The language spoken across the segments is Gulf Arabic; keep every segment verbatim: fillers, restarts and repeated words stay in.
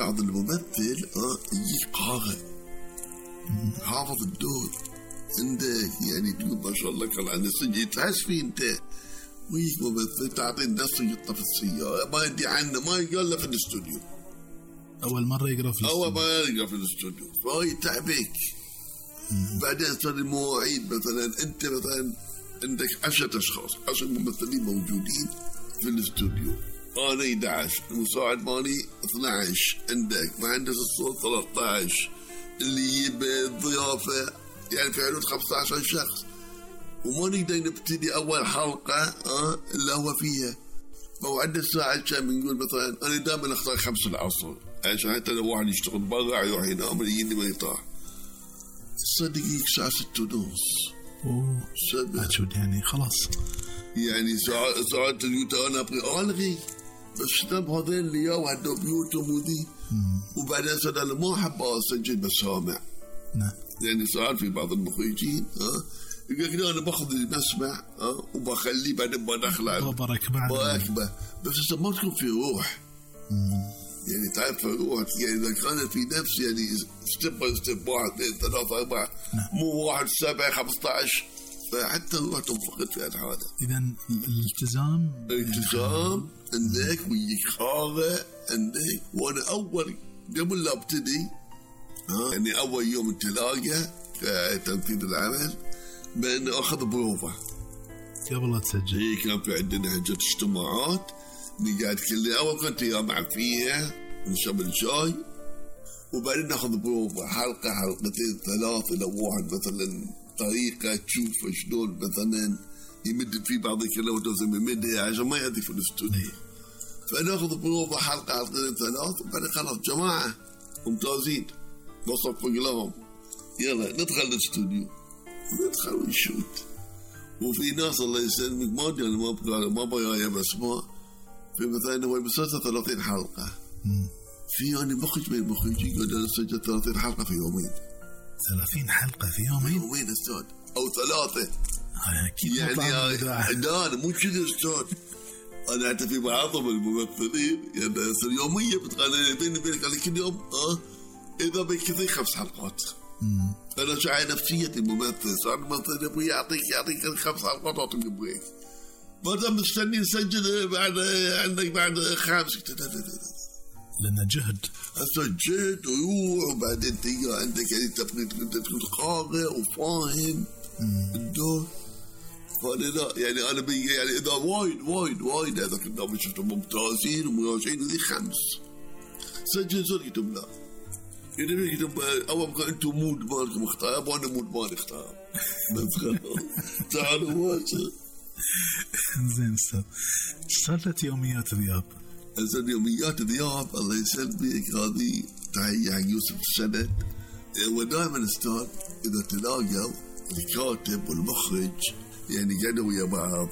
بعض الممثل اه يجيك قارئ حافظ الدور عندك، يعني تقول ما شاء الله كان عن السجن تحس فيه انت، ويجيك ممثل تعطي النص يطلع في السيارة ما يدي عنه ما يقول له في الاستوديو، أول مرة يقرأ في الاستوديو أول مرة يقرأ في الاستوديو فهو يتعبك. بعدين صار المواعيد مثلا أنت مثلا عندك عشرة أشخاص عشر ممثلين موجودين في الاستوديو، أنا أحد عشر المساعد مالي اثني عشر، عندك مهندس الصوت ثلاثة عشر، اللي يجيب الضيافة يعني في حدود خمسة عشر شخص، وما نقدر نبتدي أول حلقة أه إلا هو فيها موعد الساعة كم. نقول مثلا أنا دائما أختار خمسة العصر عشان حتى لو واحد يشتغل برا يروح ينام يجيني ما يطاح. صدقيك ساعة ستة ونص. أوه أشود يعني خلاص يعني ساعة ساعة اليوتا أنا أبغي ألغي بس نام هذين اللي ياو عندهم بيوتهم وذي، وبعدين صار أنا ما أحب أسجل بسامع. نعم. يعني ساعات في بعض المخرجين ها يقول لك أنا باخذ المسمع ها وبخليه بعدين بدخله بركبه بركبه بس ما تكون في روح. مم. يعني تعرف في روح يعني إذا كانت في نفس يعني ستيب باي ستيب واحد اثنين ثلاثة أربعة مو واحد سبعة خمسة عشر فحتى الروح تنفقد في الحالة. إذا الالتزام الالتزام عندك ويجيك خارة عندك. وأنا أول قبل لا أبتدي ها يعني أول يوم تلاقى كتنفيذ العمل بأن أخذ بروفة قبل لا تسجل. هي كان في عندنا هجة اجتماعات نقعد كل أول كنت جامع فيها نشرب الشاي وبعدين ناخذ بروفة حلقة حلقتين ثلاثة لو واحد مثلا طريقة تشوف شلون مثلا يمد في بعض الكلمات لازم يمدها عشان ما يأذي في الاستوديو. فناخذ بروفة حلقة حلقتين ثلاثة وبعدين خلاص جماعة ممتازين نصفق لهم يلا ندخل الاستوديو ندخل ونشوت. وفي ناس الله يسلمك ما ادري انا ما ابغى ما ابغى اسماء في مثلا هو مسلسل ثلاثين حلقة مم. في أنا مخرج من المخرجين قال أنا سجلت ثلاثين حلقة في يومين. ثلاثين حلقة في يومين؟ يومين أستاذ أو ثلاثة أكيد يعني لا مو كذا أستاذ. أنا حتى في بعضهم الممثلين يعني يصير يوميا بتقال بيني وبينك على كل يوم أه إذا بكثير خمس حلقات. مم. أنا شاعر نفسية الممثل صار الممثل يبغى يعطيك يعطيك خمس حلقات أعطيك بريك ما دام مستني نسجل بعد عندك بعد خامس لأنه جهد هسه جهد ويروح وبعدين تيجي عندك يعني تبغي تكون قارئ وفاهم الدور. فأنا لا يعني أنا بيجي يعني إذا وايد وايد وايد هذا كنا شفتهم ممتازين ومراجعين وذي خمس سجل زول كتب لا يعني بيكتب أول ما أنتم مود مالكم اختار وأنا مود مالي اختار بس خلاص تعالوا واجه. زين أستاذ صارت يوميات ذياب. أصل يوميات ذياب الله يسلمك هذه تحية حق يوسف السند. ودائما أستاذ إذا تلاقوا الكاتب والمخرج يعني قعدوا ويا بعض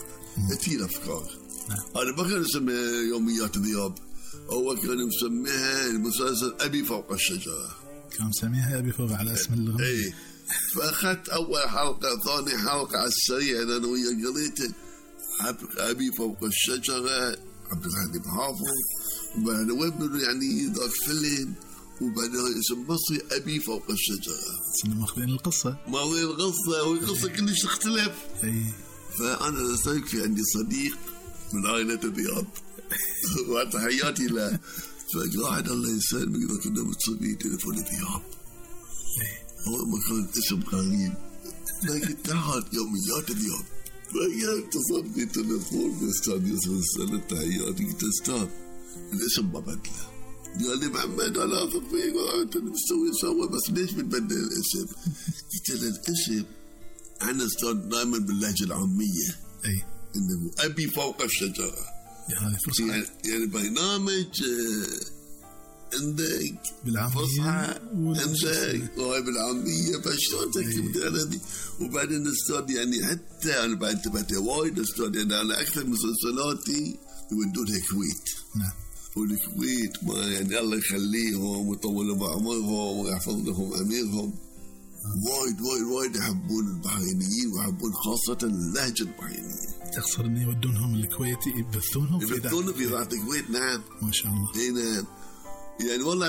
كثير أفكار. أنا ما كان اسمها يوميات ذياب هو كان مسميها المسلسل أبي فوق الشجرة. كان مسميها أبي فوق على اسم الغنية. إيه فأخذت أول حلقة ثاني حلقة على السريع أنا ويا قريته أبي فوق الشجرة عبد الحليم حافظ وبعدين وين يعني ذاك فيلم وبعدين اسم مصري أبي فوق الشجرة. صرنا ماخذين القصة ماخذين القصة والقصة كلش تختلف. أي فأنا أستاذ في عندي صديق من عائلة ذياب وتحياتي له فقاعد الله يسلمك إذا كنا متصلين تليفون ذياب هو ما كان اسم غريب لكن تعال يوميات ذياب فهي اتصل في تليفون الأستاذ يوسف السنة تحياتي قلت أستاذ الاسم ما بدله قال لي محمد أنا أثق فيك وأنت مستوي سوا بس ليش بتبدل الاسم؟ قلت له الاسم أنا أستاذ دائما باللهجة العامية أي إنه أبي فوق الشجرة يعني فرصة يعني, يعني برنامج عندك بالعامية عندك وهاي بالعامية فشلون تكتب هذه. وبعدين أستاذ يعني حتى أنا بعد تبعت وايد أستاذ يعني أنا أكثر مسلسلاتي يودونها الكويت. نعم والكويت ما يعني الله يخليهم ويطول بعمرهم ويحفظ لهم أميرهم وايد وايد وايد يحبون البحرينيين ويحبون خاصة اللهجة البحرينية. تقصد إن يودونهم الكويت يبثونهم في يبثونهم في ذات الكويت. نعم ما شاء الله. نعم يعني والله